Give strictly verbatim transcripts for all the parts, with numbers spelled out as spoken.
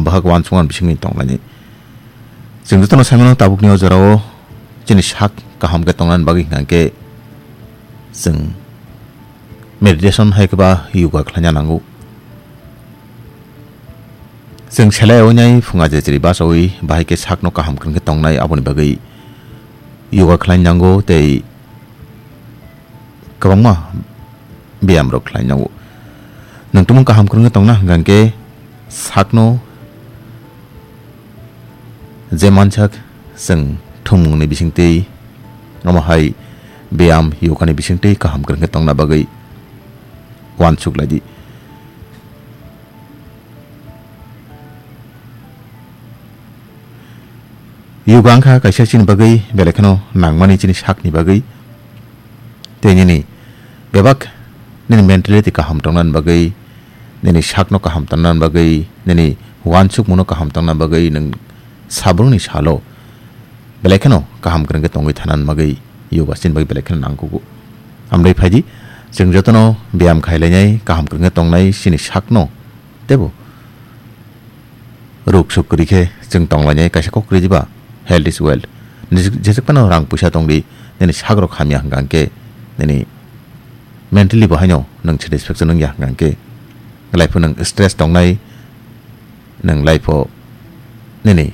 bahai uansukmani bisingni tonglainai. Chwng jotono saimano tabukni o jorao chini sak kaham khe tongnani bagwi hwnkhe chwng meditation hai khe ba yoga khlaina nango. Chwng selai oinai phunga je chiri bachaui bahai khe sakno kaham kwrwng khe tongnai, aboni bagwi yoga khlai nango tei kwbangma beyam rok khlai nango. Nwng tumung kaham kwrwng khe tongna hwnkha khe sakno je mansak chwng thwngmungni bisingtwi, omo hai beyam yoga ni bisingtwi kaham kwrwng khe tongna bagwi uansuk lai di. Yoga wngkha kaisa chini bagwi belai kheno nangmani chini sakni bagwi. Tei nini bebak nini mentality kaham tongnani bagwi, nini sakno kaham tongnani bagwi, nini uansukmungno kaham tongnani bagwi nwng sabrokni salo belai kheno kaham kwrwng khe tongwi thanani bagwi yoga chini bagwi belai kheno nangkugo. Amrwi phaidi, chwng jotono beyam khailainai, kaham kwrwng khe tongnai chini sakno teibo ruk suk kwrwi khe chwng tonglainai, kaisa kok kwrwi diba, health is wealth. Nijik-, jeswk phano rang puisa tongdi, nini sakrok hamya hwnkha hwnkhe, nini mentally bo haino nwng satisfaction wngya hwnkha hwnkhe, life o nwng stress tongnai, nwng life o nini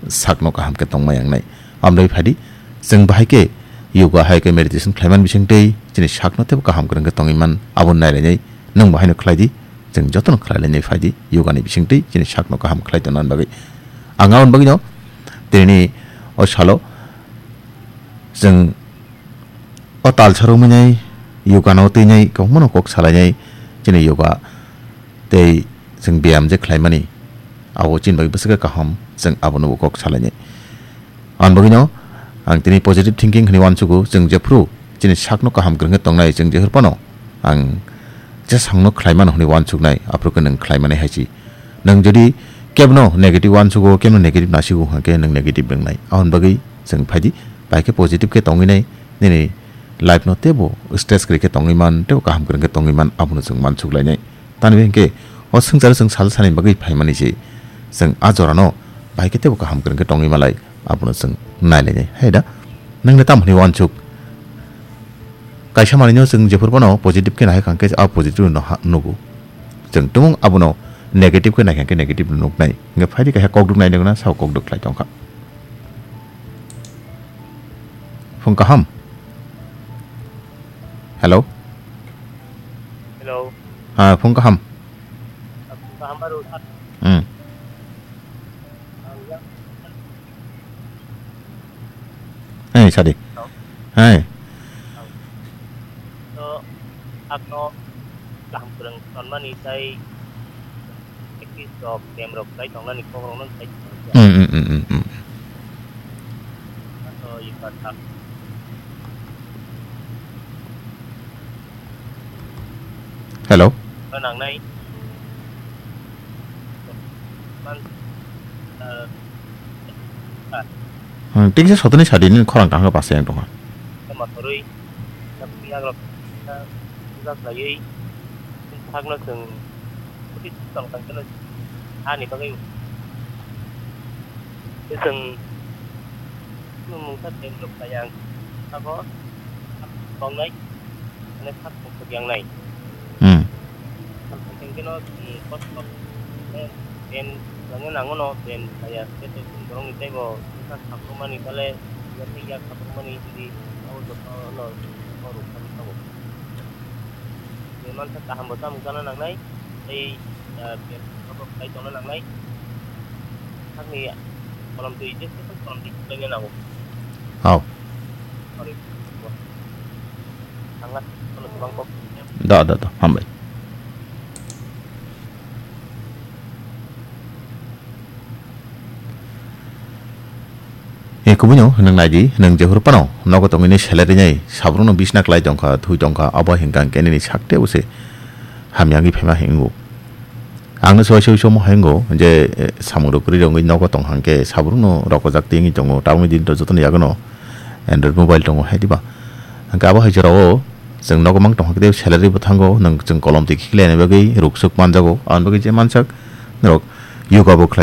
sakno kaham khe tongma yangnai. Amrwi phaidi, chwng bahai khe yoga hai khe meditation khlaiman bisingtwi chini sakno teibo kaham kwrwng khe tongwi man, abo nailainai nwng bo haino khlai di. Chwng jotono khlai lainai phai di, yoga ni bisingtwi chini sakno kaham khlai tongna bagwi. Ang aboni bagwino tini o salo chwng o tal sarwngmani yoga no twinai kwbangma no kok salainai chini yoga tei chwng beyam je khlaimani abo chini bagwi bwswk khe kaham, chwng abono bo kok salainai. Ang bagwino ang tini positive thinking hwnwi uansugo, chwng jephru chini sakno kaham kwrwng khe tongnai, chwng jephru phano ang jesakno khlai mano hwnwi uansuknai, aphuru khe nwng khlai manai hai se. Nwng jodi kebno negative uansugo, kebno negative nasigo hwnkhe nwng negative wngnai. Aboni bagwi chwng phaidi, bai khe positive khe tongwi nai, nini life no teibo stress kwrwi khe tongwi man, teibo kaham kwrwng khe tongwi man, abono chwng uansuk lainai. Tani hinkhe o swngcharo chwng sal sani bagwi phaimani se, chwng a jorano bai khe teibo kaham kwrwng khe tongwi malai, abono chwng nailainai. Hai da, nwng le tamo hwnwi uansuk? Kaisa manwino chwng jephuru phano positive khe nahai kha hwnkhe a positive no ha-, nugo. Chwng tumung abono negative khe nai kha hwnkhe negative no nuknai. Hwnkhe phaidi kaisa kokduk nai nukna, sao kokduk khlai tongkha. Phung kaham. Hello. Hello. Ha, phung kaham. Phung kaham baru. Hmm. Ang yang. Hey, sadi. Hello. Hey. To, sakno kaham kwrwng tonmani tei practice rok, beyam rok khlai tongnani kok rokno khlai tong. Hmm, hmm, hmm, hmm, hmm. To, yoga sak. Hello. Nangnai. Man, eh, ah. Hmm, tingsa sotoni sadi ni khorang tangka pasai ang tongha. Mathoroi, yagrok, puja khlaiwi, sakno chwng, khuti tong tang keno, ani bagwi. Tei chwng, chwng mungsa tem rok khlai ang, sabo, tongnai. Mane sak tok tok yang nai. Hmm. Sak tok yang keno, hmm, kos kos, eh, ben, yang yang nango no, ben, saya, saya tu, borong ni taibo, sak sak mani kale, yang ni yak sak mani, jadi, au jok no, no, no, ruk sak tok. Ni man sak kaham bo samung kana nang nai, tei, eh, ben, sak tok kai tong nang nai. Sak ni, kolom twi, je, kolom twi, kolom twi, nango. Au. Sorry. Da, da, da, hambai. E kubui no, nwng nai di, nwng jephuru phano nogo tongwi ni salary nai, sabrung no bisna klai tongkha, thui tongkha, abo hinkha hwnkhe nini sakte bo se hamya wngwi phaima hingo. Ang no soi soi somo hingo je, eh, samung rok kwrwi rok wngwi nogo tong hwnkhe sabrung no rokojak twi wngwi tongo, tabukni din to jotono yago no Android mobile tongo hai diba. Hwnkhe abo hai jorao chwng nogo mang tong hwnkhe salary bo thango, nwng chwng kolom twi khiklai ni bagwi ruk suk manjago, aboni bagwi je mansak norok yoga bo khlai